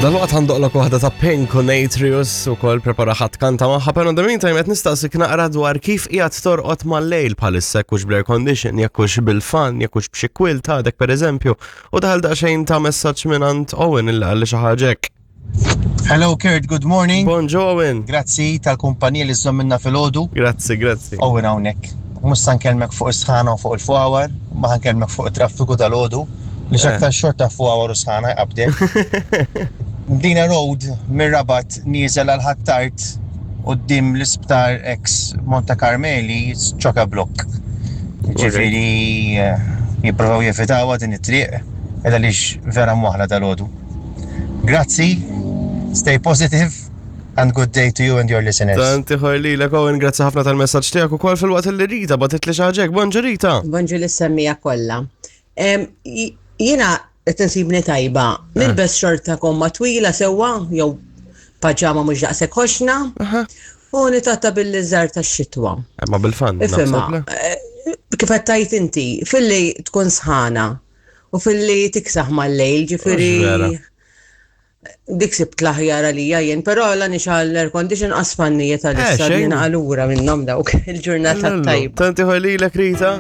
Dal-waqt għandoqlok waħda ta' Pink u Natrius u kol prepara ħadd kanta magħha, pero in the meantime qed nistaqsik naqra dwar kif qiegħed torqod mal-lejl bħalissa jekk hux bl-air condition, jekk hux bil-fan, jekk hux b'xi quilt għadek pereżempju. U daħal daqsxejn ta' messaġġ mingħand Owen illi qalli xi ħaġa hekk. Hello Kurt, good morning. Bonġu Owen. Grazzi tal-kumpanija li żżommilna filgħodu. Grazzi, grazzi. Owen hawnhekk. Mhux sa nkellmek fuq is-sħana u fuq il-fwawar, ma ħa nkellmek fuq it-traffiku dalgħodu li eh. x'aktar xorta fwawar u sħana jqabdek. Mdina Road mir-Rabat nieżel għal Ħ'Attard quddiem l-isptar ex Monte Carmeli ċoka blokk. Ġifieri eh, jipprovaw jevitawha din it-triq għaliex vera mwaħla dalgħodu. Grazzi, stay positive and good day to you and your listeners. Tant ieħor lilek Owen, grazzi ħafna tal-messaġġ tiegħek ukoll fil-waqt li Rita bagħtitli xi ħaġa hekk. Bonġu Rita. Bonġu lis-semmija kollha. Jiena qed insibni tajba. Eh. Nilbes xorta komma twila sewwa jew paġama mhux daqshekk ħoxna. U nitatta bil-liżar tax-xitwa. Eh, ma bil-fan. Ifhimha. Eh, kif qed tgħid inti, filli tkun sħana u filli tiksaħ mal-lejl, ġifieri. Dik sibt l-aħjar għalija jien, però la nixgħal l-air condition qas fannijiet għalissa eh, jiena għalura minnhom dawk il-ġurnata tajba. Tanti lilek Rita.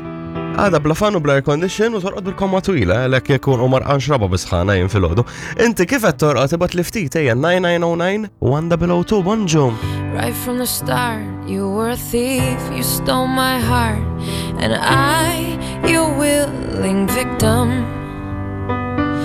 Għada bla fan u bla air condition u torqod bil-komma twila, għalhekk jekk u marqan xraba bisħana jien filgħodu. Inti kif qed torqod ibgħat li ftit ejja 9909 102 bonġu. Right from the start, you were a thief, you stole my heart, and I, your willing victim.